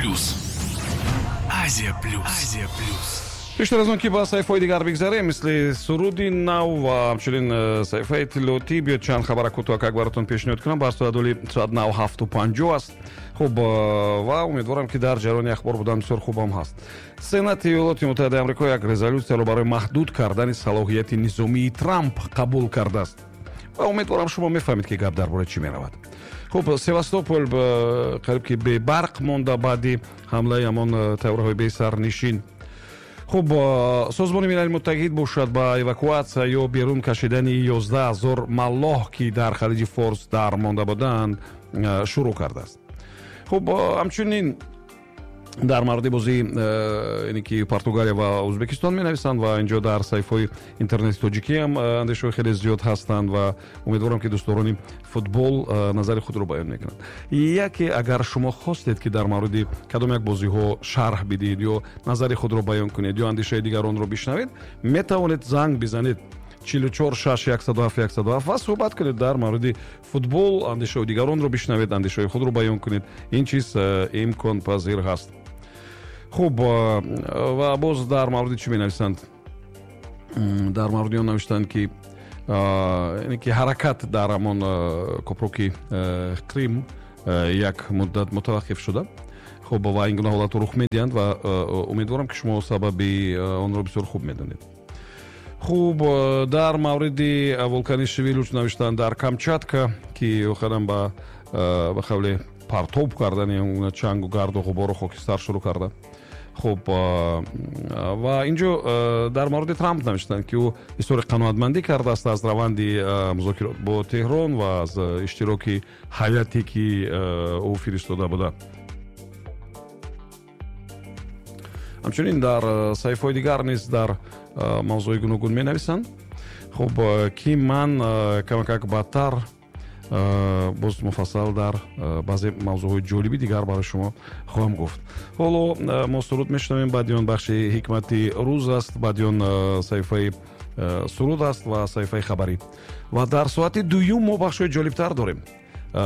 Плюс. Азия Плюс. Азия Плюс. Пештар аз он ки ба саҳифаҳои дигар бигзарем, мисли суруди нав ва ҳамчунин саҳифаи иттилоотӣ, биёд чанд хабара кӯтоҳакак баротон пешниҳод кунам. Бар соат оли соат 7:50 аст. Хуб, ва умедворам, ки дар ҷараёни ахбор будан бисёр хубам ҳаст. Сенати Иёлоти Муттаҳидаи Амрико як резолюсияро барои маҳдуд кардани салоҳияти низомии Трамп қабул кардааст ва умедворам, шумо мефаҳмед, ки гап дар бораи чӣ меравад. Хуб, Севастопол қариб ки бебарқ монда баъди ҳамлаи ҳамон тайёраҳои бесарнишин. Хуб, Созмони Милали Муттаҳид бошад, ба эвакуатсия ё берун кашидани 11 000 маллоҳ, ки дар Халиҷи Форс дар монда буданд, шурӯъ кардааст. Хуб, ҳамчунин дар мавриди бозии яъне ки Португалия ва Ӯзбекистон менависанд ва инҷо дар саҳифаҳои интернети тоҷикиам андешаҳои хеле зиёд ҳастанд ва умедворам, ки дӯстдорони футбол назари худро баён мекунанд. Яке, агар шумо хостед, ки дар мавриди кадом як бозиҳо шарҳ бидиҳед ё назари худро баён кунед ё андешаи дигаронро бишнавед, метавонед занг бизанед 44 6 107 107 ва суҳбат кунед дар мавриди футбол, андешаҳои дигаронро бишнавед, андешаҳои худро баён кунед. Ин чиз имконпазир ҳаст. Хуб, ва боз дар мавриди чӣ менависанд? Дар мавриди он навиштанд, ки яъне ки ҳаракат дар ҳамон копруки Крим як муддат мутаваққиф шуда. Хуб, ва ин гуна ҳолатҳо рух медиҳанд ва умедворам, ки шумо сабаби онро бисёр хуб медонед. Хуб, дар мавриди вулкани Шивилуч навиштанд дар Камчатка, ки охиран ба қавле партоб кардани чангу гарду ғубору хокистар шурӯъ карда. Хуб, ва инҷо дар мавриди Трамп навиштанд, ки ӯ изҳори қаноатмандӣ кардааст аз раванди музокирот бо Теҳрон ва аз иштироки ҳайате, ки ӯ фиристода буда. Ҳамчунин дар саҳифаҳои дигар низ дар мавзӯи гуногун менависанд. Хуб, ки ман камакак баъдтар боз муфассал дар баъзе мавзӯъҳои ҷолиби дигар барои шумо хоҳам гуфт. Ҳоло мо суруд мешунавем, баъди он бахши ҳикмати рӯз аст, баъди он саҳифаи суруд аст ва саҳифаи хабарӣ. Ва дар соати дуюм мо бахшҳои ҷолибтар дорем,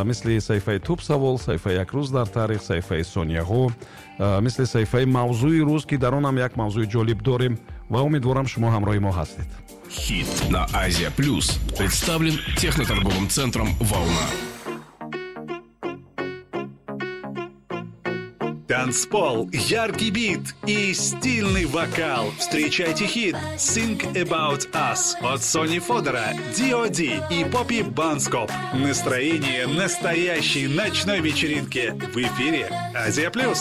мисли саҳифаи туп савол, саҳифаи як рӯз дар таърих, саҳифаи сонияҳо, мисли саҳифаи мавзӯи рӯз, ки дар он ҳам як мавзӯи ҷолиб дорем ва умедворам, шумо ҳамроҳи мо ҳастед. Хит на Азия Плюс представлен техноторговым центром «Волна». Танцпол, яркий бит и стильный вокал. Встречайте хит «Think About Us» от Сони Фодора, D.O.D. и Поппи Банскоп. Настроение настоящей ночной вечеринки в эфире «Азия Плюс».